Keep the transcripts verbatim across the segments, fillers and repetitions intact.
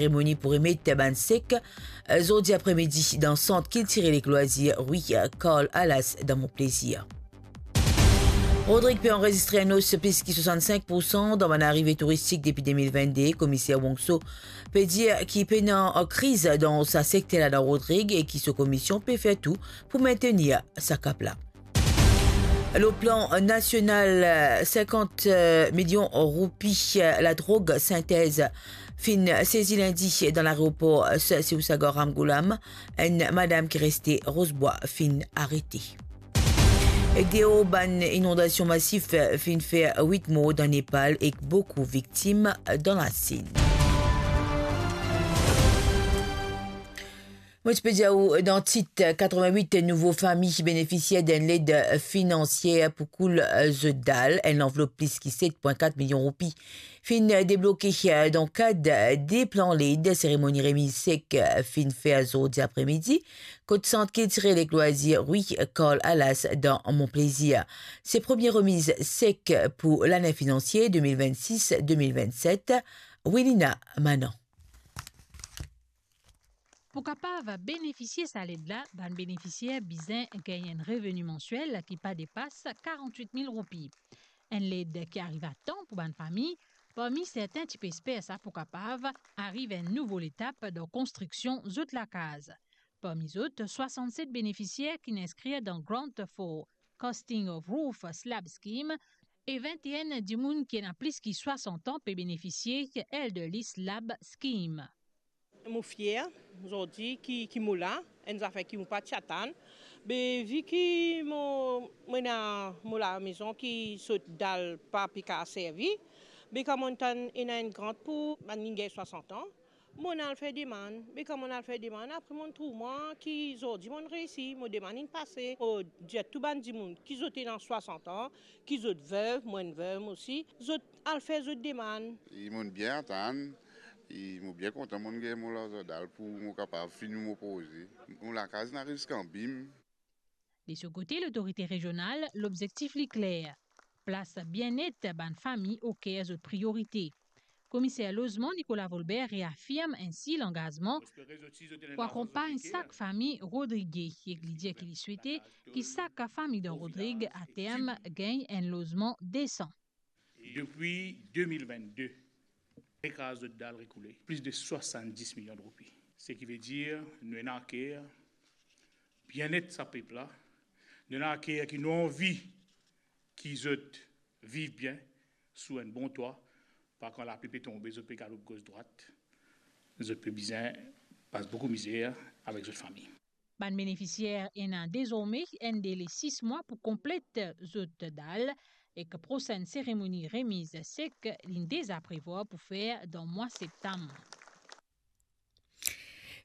Seremoni pou remet bann sek, eh, zordi apremidi dan Sant Kiltirel ek Lwazir Rwi Karl Alas dan Mont Plaisir. Rodrig pe anrezistre enn os plis ki swasannsenk poursan dan bann arive touristik depi de mil vennde. Komiser Wongso pe dir ki pena kriz dan sa sekter la dan Rodrig e ki so komisyon pe fer tou pou mintenir sa kap la. Lor plan nasional, sinkant milion roupi ladrog sintez finn sezi lindi dan laeropor Sir Sivasagar Ramgoolam. Enn madam ki reste Rosebwa finn arete. Deor bann inondasion masif finn fer wit mor dan Nepal ek boukou viktim dan Lasinn. Mo ti pe dir ou dan tit, katrevin-wit nouvo fami benefisier d'enn led finansier pou koul zot dal. Enn lanvlop plis ki set pwin kat milion roupi finn debloke dan kad de plan led. Seremoni remiz sek finn fer zordi apremidi kot Sant Kiltirel ek Lwazir Rwi Karl Alas dan Mont Plaisir. Se premie remiz sek pou lane finansie de mil vennsis de mil vennset. Wilina Manan. Pou kapav benefisie sa led la, bann benefisier bizin gagn enn reveni mansiel ki pa depas karant-wit mil roupi. Enn led ki ariv a tan pou bann fami, parmi sertin ti pe esper sa pou kapav ariv enn nouvo letap dan konstriksion zot lakaz. Parmi zot, swasannset benefisier ki'nn inskrir dan Grant for Casting of Roof Slab Scheme e vinteenn dimoun ki ena plis ki swasant an pe benefisie Elderly Slab Scheme. Mo fier zordi ki, ki mo la, enn zafer ki mo pa ti atann. Be vi ki mo, mo ena mo lamezon ki so dal pa pe kapav servi, be kan mo'nn tann ena enn grant pou bann ki gagn swasant an, mo'nn al fer demann. Be kan mo'nn al fer demann, apre mo'nn trouv mwa ki zordi mo'nn reisi, mo demann inn pase. Mo dir tou bann dimoun ki zot ena swasant an, ki zot vev, mo enn vev osi, zot al fer zot demann. E mo'nn bien atann, e mo bien kontan mo'nn gagn mo larzan dal pou mo kapav fini mo proze. Mo lakaz inn ariv ziska bim. De so kote, lotorite rezional, lobzektif li kler, plas bienet bann fami oker zot priorite. Komiser lozman Nicolas Volbert reafirm ensi langazman pou akonpagn sak fami Rodrige, ek li dir ki li swete ki sak fami dan Rodrig aterm gagn enn lozman desan. Depi de mil vennde, rekraz zot dal, rekoule plis de swasanndis milion roupi. Seki vedir nou ena aker bienet sa pep la, nou ena aker ki nou anvi ki zot viv bien sou enn bon twa, pa kan lapli pe tonbe, zot pe galoup gos drwat, zot pe bizin pas boukou mizer avek zot fami. Bann benefisier ena dezorme enn dele sis mwa pou konplet zot dal, ek prosenn seremoni remiz sek linn deza prevwar pou fer dan mwa septam.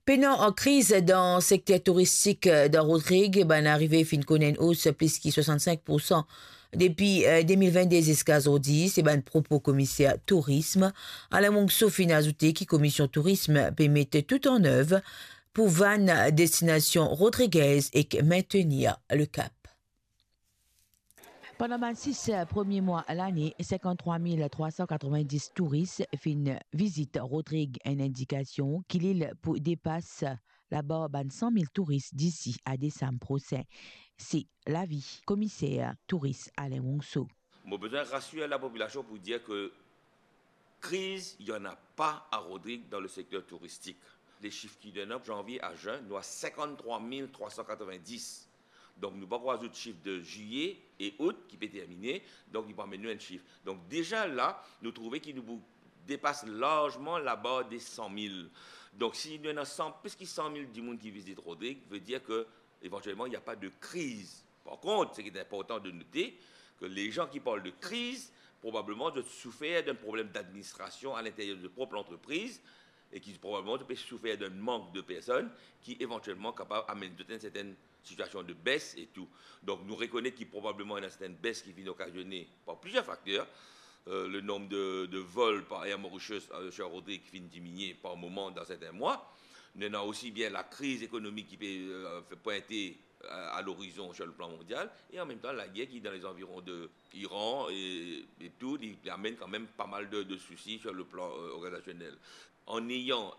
Pena kriz dan sekter touristik dan Rodrig, bann arive finn konn enn os plis ki swasannsink poursan depi, eh, de mil vennde ziska zordi, se bann propo komiser tourism. Alain Monxo finn azoute ki Komisyon Tourism pe met tou an nev pou vann destinasion rodrigez ek mintenir le kap. Pandan bann sis premie mwa lane, sinkanntrwa mil trwa san katrevin-dis touris finn vizit Rodrig, enn indikasion ki lil pou depas labar bann san mil touris disi a desam prosin. Se lavi komiser touris Alain Monxo. Mo bizin rasir lapopilasion pou dir ke kriz, il y en a pas à Rodrigues dans le secteur touristique. Lesif ki donn zanvie a zin, nou a sinkanntrwa mil trwa san katrevin-dis. Donk nou pa pou azout sif de zilye e out ki pe termine, donk li pou amenn nou enn sif. Donk deza la, nou trouve ki nou pou depas larzman labar de san mil. Donk si nou ena san, plis ki san mil dimoun ki vizit Rodrig, vedir ke evantielman, il y a pas de crise. Par kont, seki inportan de note, ke lezan ki parl de kriz, probableman zot soufer d'enn problem d'administrasion a linteryer de zot prop lantrepriz, e ki probableman zot pe soufer d'enn mank de personn ki evantielman kapav amenn zot enn sertenn sitiasion de bes e tou. Donk nou rekonet ki probableman ena sertenn bes ki finn okazione par plizier fakter. Euh, le nombre de, de vol par Air Mauritius, euh, Sir Rodrig finn diminie par moman dan serten mwa. Nou ena osi bien lakriz ekonomik ki pe, euh, fer pwinte a, a lorizon sur le plan mondial, e an mem tan lager ki dan lezanviron de Iran e, e tou, li, li amenn kanmem pa mal de, de sousi sur le plan, euh, organizasionel. En ayant